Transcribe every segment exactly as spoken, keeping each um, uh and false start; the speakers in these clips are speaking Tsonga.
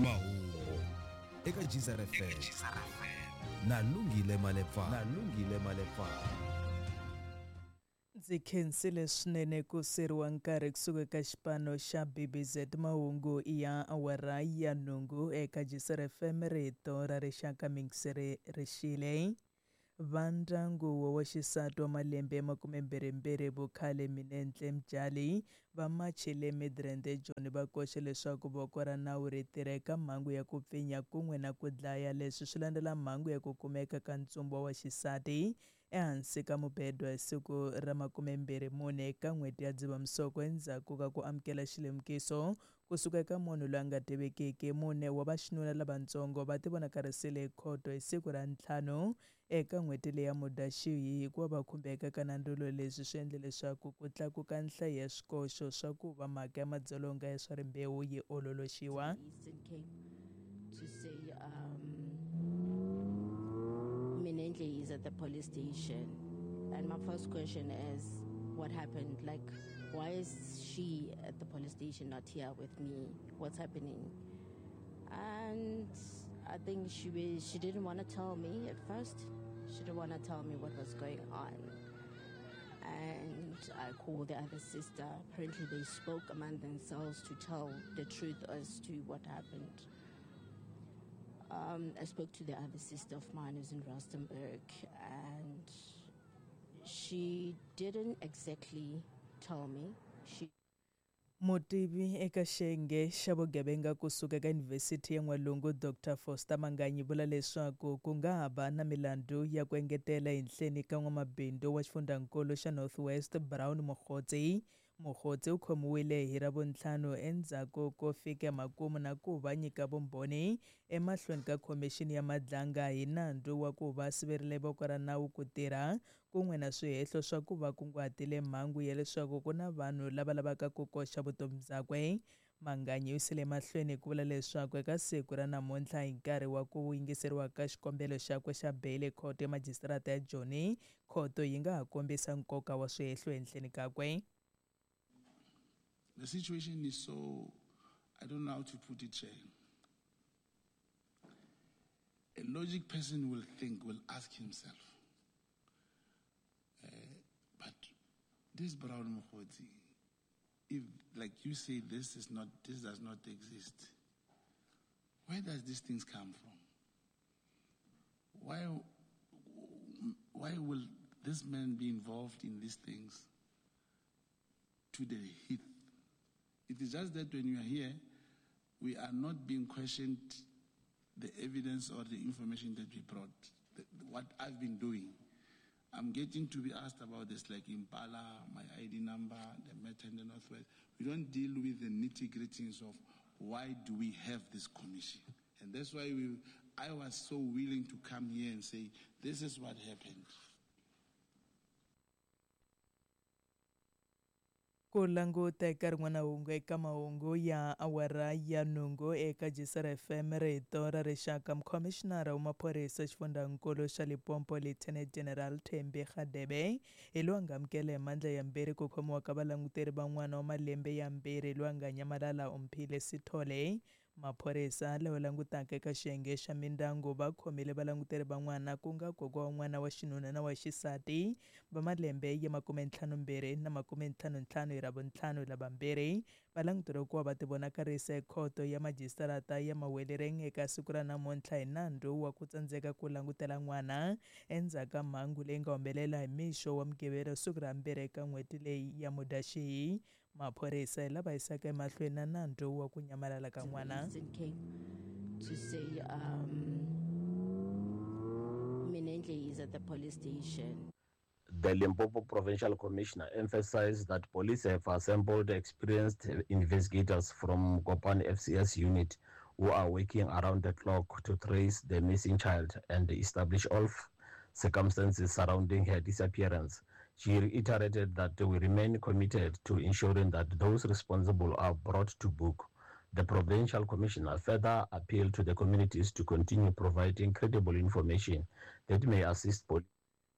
Mahungu eka Geyser F M na Lungile Malepa na Lungile Malepa. Ndzi khensile swinene ku seriwa nkarhi kusuka eka xipano xa B B Z mahungu ya awara ya nhungu eka Geyser F M rito ra rixaka mingiseri rixile. Vandyangu wa xisati wa malembe ya makumembirhimbirhi vukhale Minenhle Mjali va machile Midrand eJoni va koxe leswaku voko ra nawu ri tirha eka mhangu ya ku pfinya kun'we na ku dlaya. Leswi swi landzela mhangu ya ku kumeka ka ntsumbu wa xisati ehansi ka mubedo hi siku ra makumembirhi mune eka n'hweti ya Dzivamisoko endzhaku ka ku amukela xilemukiso kusuka eka munhu loyi a nga tivekiki. Mune wa vaxinuna lavatsongo va tivonakarisile ekhoto hi siku ra ntlhanu eka n'hweti leyi ya Mudyaxihi hikuva va khumbeka ka nandzulo. Leswi swi endle leswaku ku tlakuka nhlayo ya swikoxo swa ku va mhaka ya madzolonga ya swa rimbewu yi ololoxiwa. To say um, Minenhle is at the police station, and my first question is, what happened? Like, why is she at the police station, not here with me? What's happening? And I think she was, she didn't want to tell me at first. She didn't want to tell me what was going on. And I called the other sister. Apparently they spoke among themselves to tell the truth as to what happened. Um, I spoke to the other sister of mine who's in Rustenburg, and she didn't exactly tell me. She Mutivi eka xiyenge xa vugevenga kusuka eka Yunivhesiti ya N'walungu Doctor Foster Manganyi vula leswaku ku nga ha va na milandzu ya ku engetela ehenhleni ka n'wamabindzu wa xifundzankulu xa North West Brown Mogotsi. Mogotsi u khomiwile hi Ravuntlhanu endzhaku ko fika makumu na ku va nyika vumbhoni emahlweni ka khomixini ya Madlanga hi nandzu wa ku va siverile voko ra nawu ku tirha kun'we na swihehlo swa ku va kunguhatile mhangu ya leswaku ku na vanhu lava lavaka ku koxa vutomi byakwe. Manganyi u yisile emahlweni ku vula leswaku eka siku ra namuntlha hi nkarhi wa ku yingiseriwa ka xikombelo xakwe xa beyili khoto ya majisitarata ya Joni, khoto yi nga ha kombisa nkoka wa swihehlo ehenhleni kakwe. The situation is so, I don't know how to put it, Chair. A logic person will think, will ask himself, uh, but this Brown Mogotsi, if, like you say, this is not, this does not exist, where does these things come from? Why, why will this man be involved in these things to the heath? It is just that when you are here, we are not being questioned the evidence or the information that we brought, the, what I've been doing. I'm getting to be asked about this, like Impala, my I D number, the matter in the Northwest. We don't deal with the nitty-gritties of why do we have this commission. And that's why we, I was so willing to come here and say, this is what happened. Ku languta eka rin'wana hungu eka mahungu ya awara ya nhungu eka Geyser F M rito ra rixaka, mukhomishinara wa maphorisa xifundzankulu xa Limpopo Lieutenant General Thembi Radebe hi loyi a nga amukela hi mandla yambirhi ku khomiwa ka valanguteri van'wana wa malembe yambirhi loyi a nga nyamalala Omphile Sithole. Maphorisa lawa langutaka eka xiyenge xa mindyangu va khomile valanguteri van'wana ku nga kokwa wa n'wana wa xinuna na wa xisati va malembe ya makumentlhanumbirhi na makumentlhanuntlhanu hi Ravuntlhanu lavambirhi va languteriwa ku va va tivonakarisa ekhoto ya majisitarata ya Mahwelereng eka siku ra namuntlha hi nandzu wa ku tsandzeka ku langutela n'wana endzhaku ka mhangu leyi nga humelela hi mixo wa Mugqivela siku ra mbirhi eka n'hweti leyi ya Mudyaxihi. Maphorisa hi lava yisaka emahlweni na nandzu wa ku nyamalala ka n'wana. To say um, Minenhle is at the police station. The Limpopo Provincial Commissioner emphasized that police have assembled experienced investigators from Gopane F C S unit who are working around the clock to trace the missing child and establish all circumstances surrounding her disappearance. She reiterated that we remain committed to ensuring that those responsible are brought to book. The provincial commissioner further appealed to the communities to continue providing credible information that may assist police.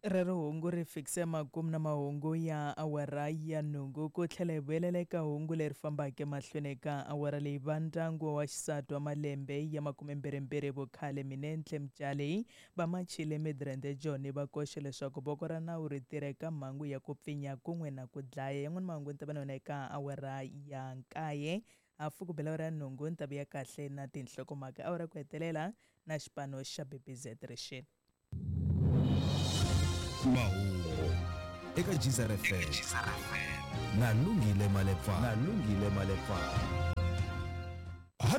Rero hungu ri fikise makumu na mahungu ya awara ya nhungu ku tlhela hi vuyelela eka hungu leri fambaka emahlweni eka awara leyi. Va ndyangu wa xisati wa malembe ya makumembirhimbirhi vukhale Minenhle Mtshali va machile Midrand Joni va koxe leswaku voko ra nawu ri tirha eka mhangu ya ku pfinya kun'we na ku dlaya. Yan'wana mahungu ni ta va na yona eka awara ya nkaye hafu ku bela awara ya nhungu ni ta vuya kahle na tinhlokomhaka awara ku hetelela na xipano xa B B Z rixini. Mahungu eka Geyser F M na Lungile Malepa na Lungile Malepa.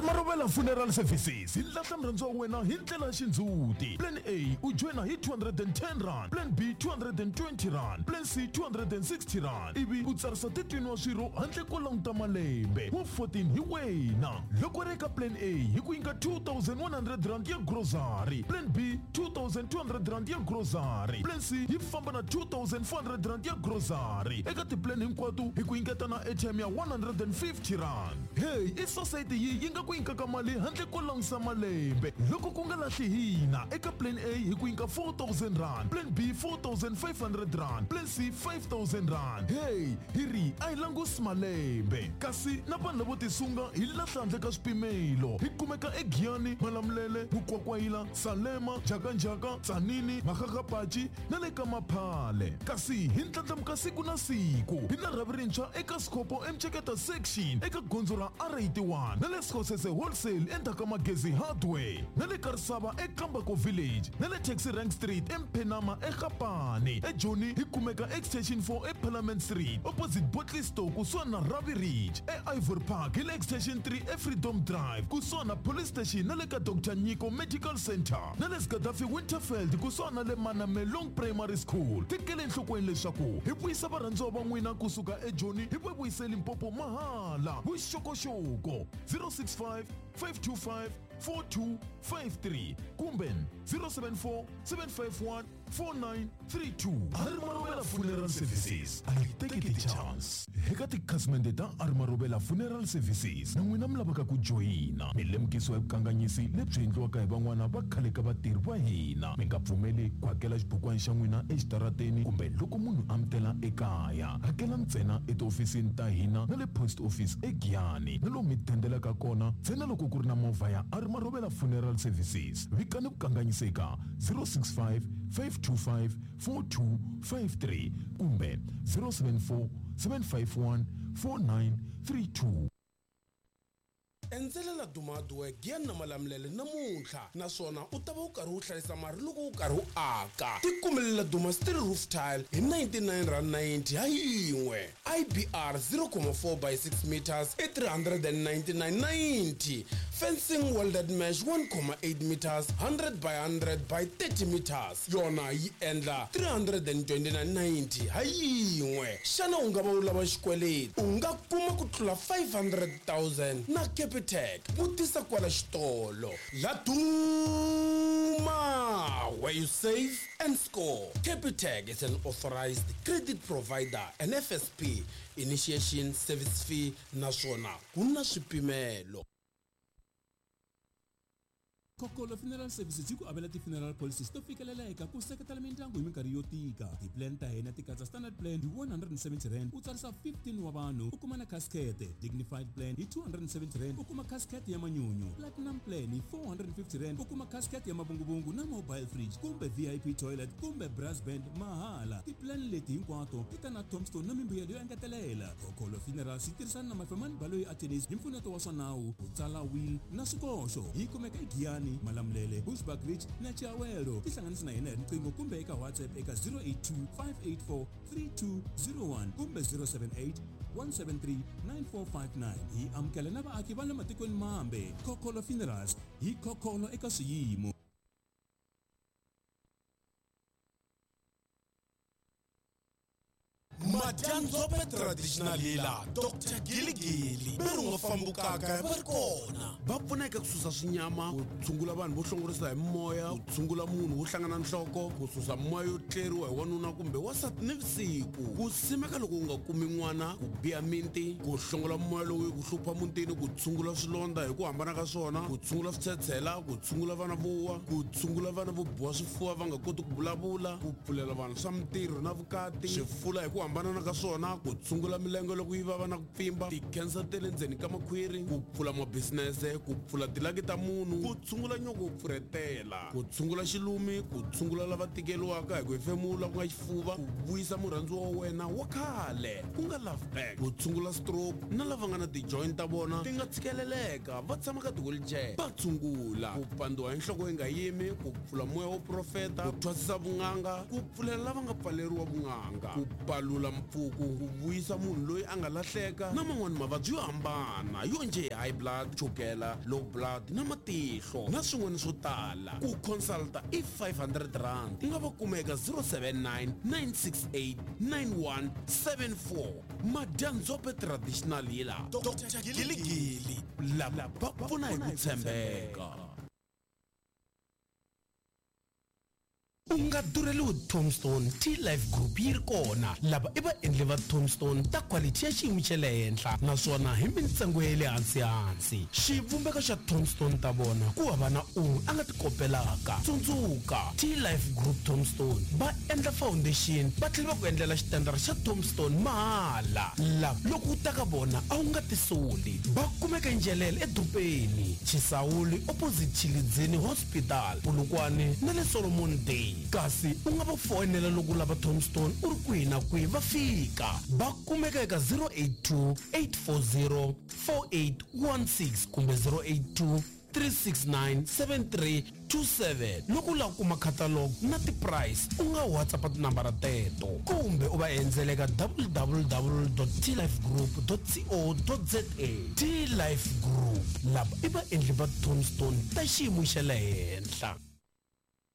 Marobela Funeral Services hi lahla murhandziwa wa wena hi ndlela ya xindzhuti. Plan A u joyina hi two hundred and ten rand, Plan B two hundred and twenty rand, Plan C two hundred and sixty rand, ivi u tsarisa thirteen wa swirho handle ko languta malembe wa fourteen hi wena. Loko ri eka Plan A hi ku nyika two thousand one hundred rand ya grocery, Plan B two thousand two hundred rand ya grocery, Plan C yi famba na two thousand four hundred rand ya grocery. Eka tiplan hinkwato hi ku nyiketa na airtime ya one hundred and fifty rand. Hey, i society yi yi nga ku nyikaka mali handle ko langusa malembe. Loko ku nga lahli hina eka Plan A hi ku nyika four thousand rand, Plan B four thousand five hundred rand, Plan C five thousand rand. Hey, hi ri a hi langusi malembe. Kasi na vanhu lavo tisunga hi lahla handle ka swipimelo. Hi kumeka eGiyani, Malamulele, Mukwakwayila, Salema, Jakanjaka, Tsanini, Makgakgapachi na le ka Maphale. Kasi hi ndlandlamuka siku na siku. Hi na rhavi rintshwa eka Sikopo eMceketa section eka gondzo ra R eighty-one na le Sikosese Wholesale endzhaku ka Magezi Hardware na le Karisava eKambako Village na le Taxi Rank Street eMphenama eGapani. eJoni hi kumeka Extension four eParliament Street opposite Botley Store kusuhani na Ravi Ridge. E-Ivory Park hi le Extension three eFreedom Drive kusuhani na Police Station na le ka Doctor Nyiko Medical Center na le Gaddafi Winterfeld kusuhani na le Manamelong Primary School. Tekele enhlokweni leswaku hi vuyisa varhandziwa va n'wina kusuka eJoni hi va vuyise Limpopo mahala. Vuxokoxoko zero six five five two five four two five three kumbe zero seven four seven five one four nine three two. Marobela Funeral Services a yi teki ti-chance. Eka tikhasimende ta Marobela Funeral Services na n'wina mi lavaka ku joyina mi lemukisiwa hi vukanganyisi lebyi endliwaka hi van'wana va khale ka vatirhi va hina. Mi nga pfumeli ku hakela xibukwana xa n'wina exitarateni kumbe loko munhu a mi tela ekaya. Hakela ntsena etihofisini ta hina na le post office eGiyani na lomu mi dendelaka kona ntsena loko ku ri na movha ya Marobela Funeral Services. Vikani vukanganyisi eka zero six five five two five four two five three kumbe zero seven four seven five one four nine three two. Endzelela Dumaduwe Giyani na Malamulele namuntlha naswona u ta va u karhi u hlayisa mali loko u karhi u aka. Tikumelela Duma Steel Roof Tile hi ninety-nine rand ninety ha yin'we. I B R zero point four by six meters i three hundred and ninety-nine ninety. Fencing welded mesh one point eight meters hundred by hundred by thirty meters yona yi endla three hundred and twenty-nine ninety ha yin'we. Xana u nga va u lava xikweleti? U nga kuma ku tlula five hundred thousand na Capitec. Vutisa kwala xitolo. La Duma, where you save and score. Capitec is an authorized credit provider and F S P initiation service fee naswona ku na swipimelo. Kokolo Funeral Services yi ku avela ti-funeral policies to fikeleleka ku seketela mindyangu hi minkarhi yo tika. Ti-plan ta hina ti katsa standard plan hi one hundred and seventy rand u tsarisa fifteen wa vanhu u kuma na casket, dignified plan hi two hundred and seventy rand u kuma casket ya manyunyu, platinum plan hi four hundred and fifty rand u kuma casket ya mavunguvungu na mobile fridge kumbe V I P toilet kumbe brass band mahala. Ti-plan leti hinkwato ti ta na tombstone na mimbuyelo yo engetelela. Kokolo Funerals yi tirhisana na Mafemani Baloyi Attorneys hi mpfuneto wa swa nawu ku tsala will na swikoxo. Yi kumeka eGiyani, Malamulele, Bushbuck Ridge na Chiawelo. Tihlanganisi na hina hi riqingho kumbe eka WhatsApp eka zero eight two five eight four three two zero one kumbe zero seven eight one seven three nine four five nine. Hi amukela na vaaki va le matikweni mambe. Kokolo Funerals hi kokolo eka swiyimo. Madyandza Madyandzombe traditional healer Doctor Giligili ve ri nga fambukaka va ri kona va pfuna eka ku susa swinyama, ku tshungula vanhu vo hlongorisa hi moya, ku tshungula munhu wo hlangana nhloko, ku susa moya yo tleriwa hi wanuna kumbe wansati nivusiku, ku simeka loko u nga kumi n'wana, ku biha minti, ku hlongola moya lowu ku hlupha mutini, ku tshungula swilondza hi ku hambana ka swona, ku tshungula switshetshela, ku tshungula vana vo wa, ku tshungula vana vo biwa swifuva va nga koti ku vulavula, ku pfulela vanhu swa mintirho na vukati, swifula hi ku hambanana ka swona, ku tshungula milenge loko yi vava na ku pfimba, ti-cancer ta le ndzeni ka makhwiri, ku pfula mabisinese, ku pfula tilaki ta munhu, ku tshungula nyoko wo pfurhetela, ku tshungula xilumi, ku tshungula lava tikeriwaka hi ku hefemula ku nga xifuva, ku vuyisa murhandziwa wa wena wa khale ku nga love back, ku tshungula stroke na lava nga na ti-joint ta vona ti nga tshikeleleka va tshama ka ti-wheelchair va tshungula, ku pandziwa hi nhloko yi nga yimi, ku pfula moya wo profeta, ku thwasisa vun'anga, ku pfulela lava nga pfaleriwa vun'anga, ku palula mpfuku, ku vuyisa munhu loyi a nga lahleka na man'wani mavabyi yo hambana yo njhe high blood, chukela, low blood na matihlo na swin'wana swo tala. Ku consulta i five hundred rand. U nga va kuma eka zero seven nine, nine six eight, nine one seven four. Madyandzombe traditional healer Doctor Giligili lava va pfuna hi ku tshembeka. U nga durheliwi Tombstone T-Life Group yi ri kona. Lava i vaendli va Tombstone ta quality ya xiyimo xa le henhla naswona hi mintsengo ya le hansi-hansi. Xivumbeko xa Tombstone ta vona ku hava na un'we a nga ti kopelaka. Tsundzuka, T-Life Group Tombstone va endla foundation va tlhela va ku endlela xitandara xa Tombstone mahala. Lava loko u ta ka vona a wu nga tisoli. Va kumeka Njelele edorobeni, Chisawuli opposite Chilidzini Hospital, Polokwane na le Solomon Day. Kasi u nga va foyinela loko u lava Tombstone u ri kwihi na kwihi va fika. Va kumeka eka zero eight two, eight four zero, four eight one six kumbe zero eight two, three six nine, seven three two seven. Loko u lava ku kuma catalog na ti-price u nga WhatsApp tinambara teto kumbe u va endzela eka w w w dot t life group dot co dot z a. T-Life Group lava i vaendli va Tombstone ta xiyimo xa le henhla.